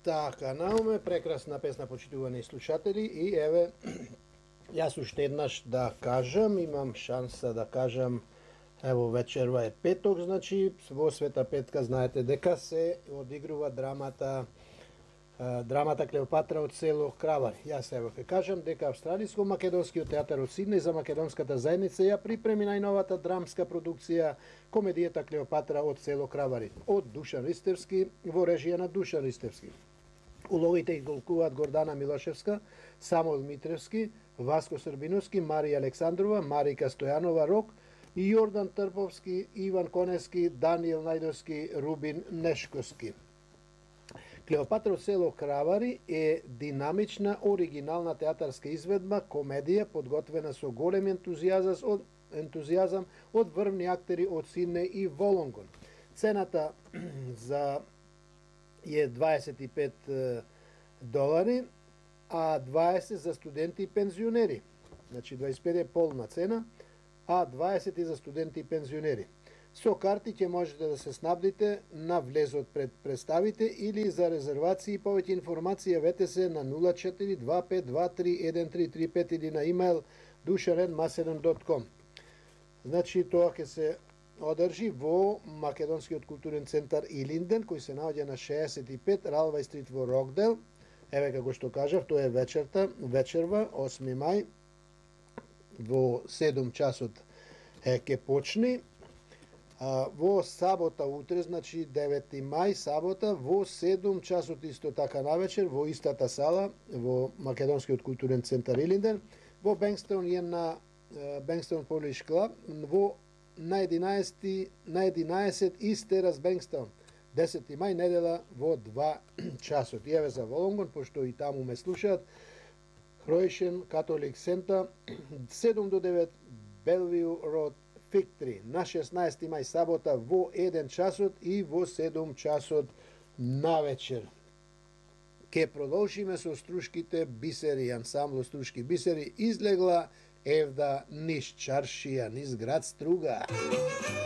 Така, науме прекрасна песна, почитувани слушатели, и еве јас уште еднаш да кажам, имам шанса да кажам, ево вечерва е петок, значи во Света Петка знаете дека се одигрува драмата Клеопатра од село Кравари. Јас ево ќе кажам дека Австралиско-македонскиот театар од Сиднеј за македонската заедница ја припреми најновата драмска продукција комедијата Клеопатра од село Кравари од Душан Ристевски во режија на Душан Ристевски. Улогите ги голкуваат Гордана Милошевска, Самуел Митревски, Васко Србиновски, Марија Александрова, Марика Стојанова Рок, Јордан Трповски, Иван Конески, Даниел Најдовски, Рубин Нешковски. Клеопатра од село Кравари е динамична, оригинална театарска изведба, комедија подготвена со голем ентузијазам од врвни актери од Сиднеј и Волонгон. Цената за е $25, а 20 за студенти и пензионери. Значи 25 е полна цена, а 20 и за студенти и пензионери. Со карти ќе можете да се снабдите на влезот пред представите или за резервации и повеќе информација вете се на 0425231335 или на имейл dushanen@macedon.com. Значи тоа ќе се одржи во Македонскиот културен центар Илинден, кој се наоѓа на 65 Ралвај стрит во Рокдел. Еве како што кажав, тоа е вечерва 8 мај во 7 часот ќе почне. Во сабота утре, значи 9 мај, сабота, во 7 часот исто така навечер, во истата сала, во Македонскиот културен центар Илинден, во Бенкстон е на Бенкстон Polish Club, на 11 Истерас Бенкстон, 10 мај, недела, во 2 часот. И еве за Волонгон, пошто и таму ме слушаат, Croatian Catholic Center, 7 до 9, Bellevue Road, Фиктри, на 16 мај сабота во 1 часот и во 7 часот навечер. Ке продолжиме со струшките бисери, ансамбло струшки бисери излегла евда низ чаршија, низ град Струга.